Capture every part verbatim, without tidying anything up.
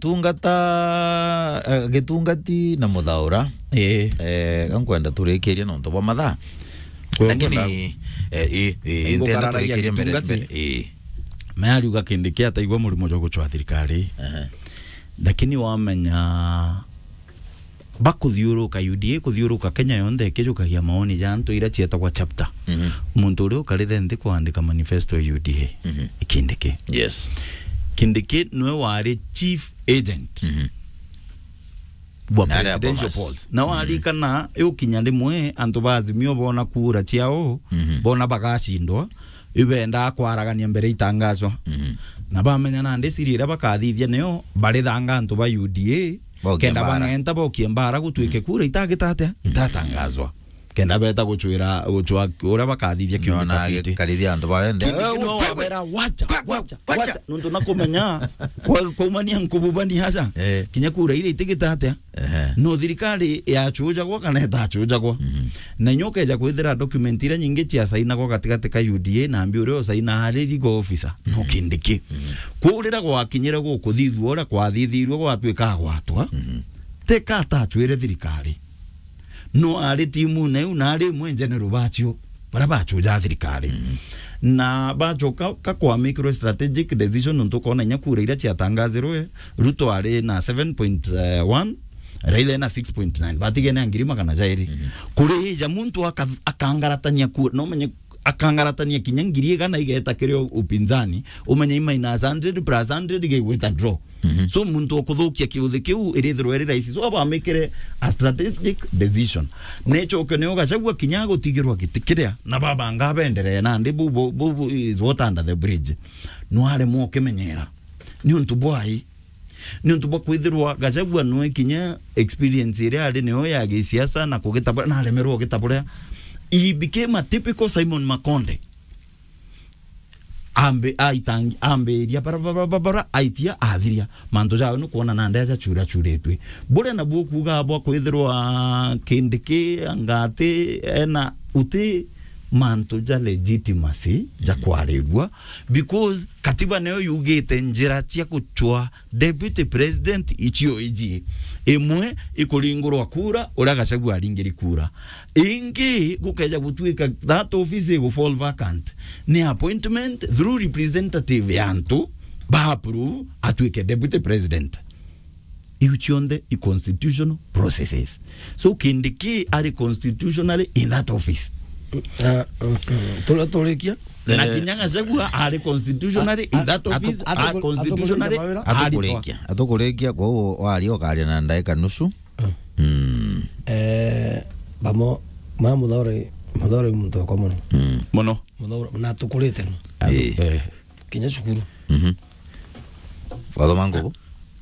Tungata, eh, gitungati na muthaura. Ii. Eh, gankwenda turikirie nontu bwa mathaa. Kwe lakini, ngwenda eh, ii, ii, ntenda ngukararia turikirie mbere, gitungati. Mbere, ii. Me ariuga Kindiki ataigua murimo jwa gucwa thirikari. Aha. Lakini wamenya bakuthiuruka U D A, kuthiuruka Kenya yonthe ikijukagia maoni ja antu ira cietagwa chapter. Mhm. Muntu uria ukarire nthi kwandika manifesto ya U D A, mhm, i Kindiki. Yes. Kindiki niwe wari chief agent, mhm, wa na aria presidential polls. Na, mhm, warikana, iukinya rimwe antu ba Azimio bona kura ciao, mhm, bona bagacindwa, ibendaa kwaragania mbere itangazwa. Mhm. Na bamenya nandi siri iria bakathithia nio barithanga antu ba U D A, bokie kenda mbara, bang'enta bokie mbara gutwike, mm, kura itagita atia? Mm. Itatangazwa. Kenda beta gucwira, gucwa uria bakathithia kiundi. Nona kafiti. Karithia antu bawe nthe. Kindiki, eh, no wabera, "Wacha, wacha, wacha, wacha." Nontu na kumenya, kwa, kwaumania nkububani aja. Eh. Kinya kura iria itigita atia? Ehe. No thirikari yacujagwa kana itacujagwa. Mhm. Na inya ukeja kwithira document iria nyingi ciasainagwa gatigati ka U D A na mbi uria usaina ari legal officer, no, mhm, Kindiki. Mhm. Kwou riria gwakinyire gukuthithua uria kwathithirue gwatwika agwatwa, mhm, teka atacwire thirikari. No ari timune iu na ari imwe general bacio. Baria bachuja thirikari. Mm. Na bachoka ka kwamikirwe strategic decision, nontu ukona inya kura iria ciatangazirwe, Ruto ari na seven point one, Raila ena six point nine, batigene na ngiri magana jairi. Mm-hmm. Kuri ja muntu aka-, akangaratania kura, no menye akangaratania kinya ngiri igana igeta kiri upinzani, umenye i minus hundred plus hundred gigwita draw. Mhm. So, muntu ukuthukia kiuthi kiu irithirwa iri rahisi. So, abamikire a strategic decision. Nechoke nio Gachagua kinya agutigirwa giti kiria, na babanga benderee nandi bu, bu, bu, bu is water under the bridge. Nwaremwa ukimenyera. Ni untu bwai? Ni untu bwa kwithirwa Gachagua nwe kinya experience iria ari nio ya gisiasa na kugitabura, na aremerwa ugitaburia. He became a typical Simon Makonde. Ambi-, aitangi-, ambiria bara, bara, bara, bara, aitia, athiria. Mantu jawe nukwona nandi aja chura churitwe. Buria nabuo kuuga bwa kwithirwa Kindiki anga ati ena uti mantu ja legitimacy ja kwarirua, because katiba niyo yugite njira cia guchwa deputy president icio iji. Imwe ikuringurwa kura, uria Gachagua aringiri kura. Ingi gukeja gutuika that office igu fall vacant, ni appointment through representative ya antu ba approve atuike deputy president. Iu cionthe i constitutional processes. So, Kindiki ari constitutionally in that office. Ah, mm, mm. Tula-, turikia. Na eh, kinya Gachagua ari constitutionally in that office, atu-, atu-, a constitutionally atukuringia mawira. Aritwa. Atukurikia, atukurikia, kwa hiyo waria ukaria na ndaika nusu. Mm. Mm. Eh, bamo, ma Muthaura, Muthaura i muntu wakwa mono. Mm. Mono. Muthaura, na tukurite no. Atu-, eh. Eh. Kinya cukuru. Mhm. Wathoma ngubu?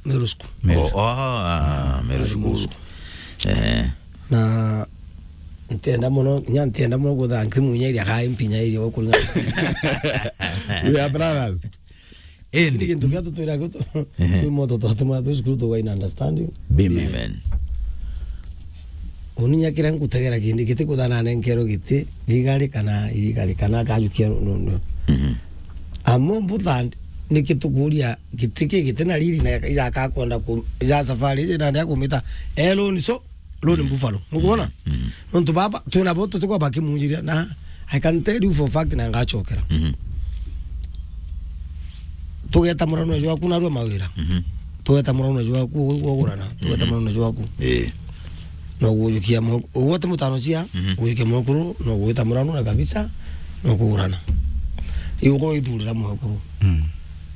Meru School. Meru. Oh, oh, ah, Meru School. Meru School. Eh. Na ntienda mono, nya ntienda mono guthanki munya iria ka impinya iria gukuringa. We are brothers. Indi. Kintu kia tutwira gio tu-, ehe, twi moto twatuma twi cukuru tugaina understanding. Amen. Amen. Uni nya kiria nkutegera Kindiki ti kuthana nenkerwe giti, thigari kana irigari kana akajukia ru-, ru-, ru-. Mhm. Amo mbuthandi, niki tukuria giti ki giti na riri na ijaka kwenda ku-, ija safari iji nandi akumita, eh, loni so, loni buffalo. Nukwona? Mhm. Nontu baba, twina bo tutikwa bakimunjiria na I can tell you for fact na ngachokera. Mhm. Tugeta murano jwaku narua mawira. Mhm. Tugeta murano jwaku, ugurana. Tugeta, mhm, murano jwaku. Eh. No gujukia mo-, ugwete mutano cia, mhm, gwike mukuru, no gwita murano na kabisa, no kugurana. Iu ko ithurira mukuru. Mm.